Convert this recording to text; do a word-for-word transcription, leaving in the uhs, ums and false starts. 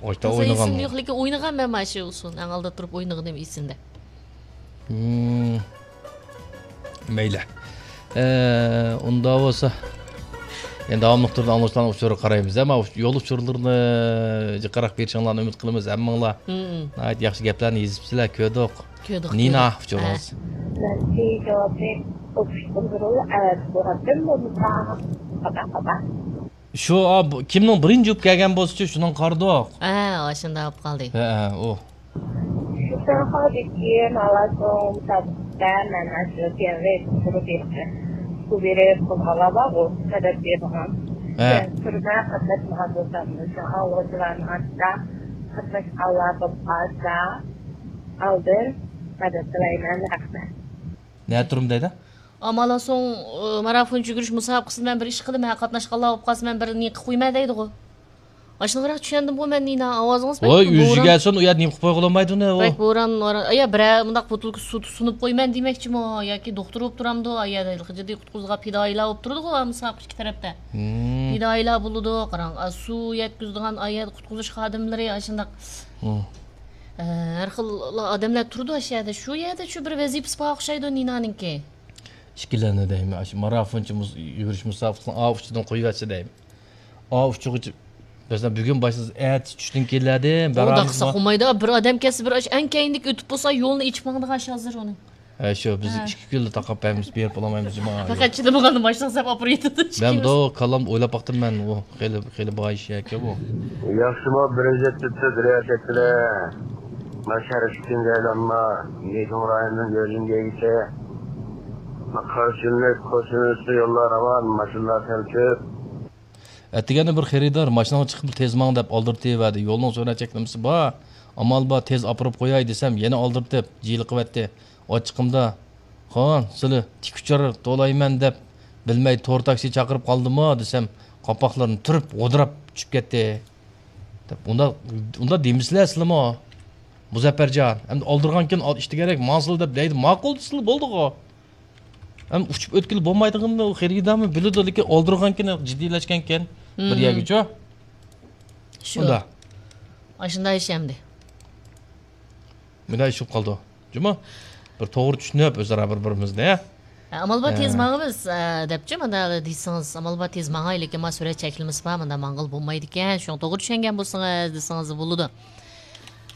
ئاشتا ئوينىغان. ئېسىمدە يوق، لېكىن ئوينىغانمەن مانا شۇ ئۇسۇلنى. ئەڭ ئالدىدا تۇرۇپ ئوينىغىنىم ئېسىمدە. مەيلى. ئۇنداق بولسا، يەنە داۋاملىق تۈردە ئاڭلىغۇچىلارنىڭ ئۇچۇرىغا قارايمىز. ئەمما يول ئۇچۇرلىرىنى جىقراق بېرىشىڭلارنى ئۈمىد قىلىمىز. ھەممىڭلار ناھايىتى ياخشى گەپلەرنى يېزىپسىلەر، كۆردۇق. كۆردۇق، نىنا كۆردۇق. ئۇچۇرىڭىز. مەن جاۋابنى ئوقۇشتىن بۇرۇن ئەۋەتىپ بولغانتىم، بولمىسا خاتا، خاتا. شۇ، ئا، بۇ، كىمنىڭ بىرىنچى بولۇپ كەلگەن بولسىچۇ، شۇنىڭغا قارىدۇق. ھە، ئاشۇنداق بولۇپ قالدى. ھە، ھە، ئۇ. شۇ سەن خالىدىكى ماۋاسۇڭ سادىقتا مەن ئاشۇ كەۋرەك قۇرۇپ بېرىپ، سۇ بېرىپ قىلغانلار بارغۇ، مەدەت بېرىدىغان. ھە. سەن تۈرمە قاتناشمىغان بولسام، شۇ ئاڭلىغۇچىلارنىڭ ئارىسىدا قاتناشقانلار بولۇپ قالسا، ئالدىن مەدەت تىلەيمەن، رەھمەت. نە تۇرۇم دەيدۇ؟ ئامالا سوڭ، ئى، مارافونچە يۈگۈرۈش مۇسابىقىسىدە مەن بىر ئىش قىلىمەن، قاتناشقانلار بولۇپ قالسا، مەن بىر نى قىلىپ قويىمەن دەيدىغۇ. ئاشۇنداقراق چۈشەندىمغۇ مەن، نىنا، ئاۋازىڭىز بەك ۋاي، بوران. ئۆزى كەلسۇن، ئۇ يەردە نېمە قىلىپ قويغىلى بولمايدۇ، نە، ئۇ؟ بەك بوران، ۋاران. ئايا، بىرەر مۇنداق بوتۇلكا سۇ سۇنۇپ قويىمەن دېمەكچىمۇ؟ ياكى دوختۇر بولۇپ تۇرامدۇ؟ ئايا، جىددىي قۇتقۇزغان پىدائىيلار بولۇپ تۇرىدىغۇ، مۇسابىقە ئىككى تەرەپتە. پىدائىيلار بولىدۇ، قاراڭ، ئا، سۇ يەتكۈزىدىغان، ئايا، قۇتقۇزۇش خادىملىرى، ئاشۇنداق. ئە، ھەر خىل ئادەملەر تۇرىدۇ ئاشۇ يەردە. شۇ يەردە شۇ بىر ۋەزىپىسى بار ئوخشايدۇ نىنانىڭكى. ئىككىلەننى دەيمەن، ئاشۇ مارافونچە مۇز-، يۈگۈرۈش مۇسابىقىسىنىڭ ئا ئۇچىدىن قويۇۋەتسە دەيمەن. ئا ئۇچىغىچە، مەسىلەن، بۈگۈن باشلىسا، ئەتە چۈشتىن كېيىنلەردىن ئۇ بارامىز. داقسا قىلمايدۇ، بىر ئادەم كەلسە، بىر ئاش-، ئەڭ كەينىدىكى ئۆتۈپ بولسا، يولنى ئېچىپ ماڭىدىغان ئىش ھازىر ئۇنىڭ. ھە، شۇ، بىز ھە. ئىككى كۈنلا تاقاپ بەرمىز، بېرىپ بولالمايمىز جۇما. پەقەت چىدىمىغاندا ماشىنا سەپ ئاپىرىۋېتىدۇ. مەن بۇ كاللامدا ئويلاپ باقتىم مەن، ئۇ خېلى، خېلى باي ئىش ئەكەن بۇ. ياخشىمۇ، بىرىنچى تۈپتە دۇنيا شەكلى. ما شەرقتىكى جايلانما، مېيتۇڭ رايونىدىن گۆجۈنگەيگىچە. ما قارشىلىنىش، قوشۇلۇش يوللار راۋان، ماشىنىلار سەل كۆپ. ئەتىگەندە بىر خېرىدار ماشىنىغا چىقىپ تېز ماڭ دەپ ئالدىرىتىۋەردى. يولنىڭ سۈرئەت چەكلىمىسى بار. ئامال بار، تېز ئاپىرىپ قوياي دېسەم، يەنە ئالدىرىتىپ، جىلىقىۋەتتى. ئاچچىقىمدا، خان، سىلى تىك ئۇچار تولايمەن دەپ بىلمەي تور تاكسى چاقىرىپ قالدىمۇ دېسەم، قاپاقلىرىنى تۈرۈپ، غودراپ چۈشۈپ كەتتى. دەپ، ئۇنداق، ئۇنداق دېمىسىلە سىلىمۇ. مۇزەپپەرجان، ئەمدى ئالدۇرغانكىن ئال-، ئىشتىگەرەك ماڭسىلە دەپ دەيدۇ. ماقۇل دېسىلە بولدىغۇ. ھەم ئۇچۇپ ئۆتكىلى بولمايدىغىنىنى ئۇ خېرىدارمۇ بىلىدۇ، لېكىن ئالدۇرغانكىن جىددىيلەشكەنكەن بىر يەرگىچۇ. شۇ. ئۇندا. ئاشۇنداق ئىش ئەمدى. مۇنداق ئىش بولۇپ قالدى. جۇمۇ. بىر توغرا چۈشىنىپ ئۆزئارا بىر-بىرىمىزنى. ئامال بار تېز ماڭىمىز، ئە، دەپچۇ، مانا دېسىڭىز، ئامال بار تېز ماڭاي، لېكىن ما سۈرئەت چەكلىمىسى بار، مۇنداق ماڭغىلى بولمايدىكەن، شۇڭا توغرا چۈشەنگەن بولسىڭىز دېسىڭىز بولىدۇ.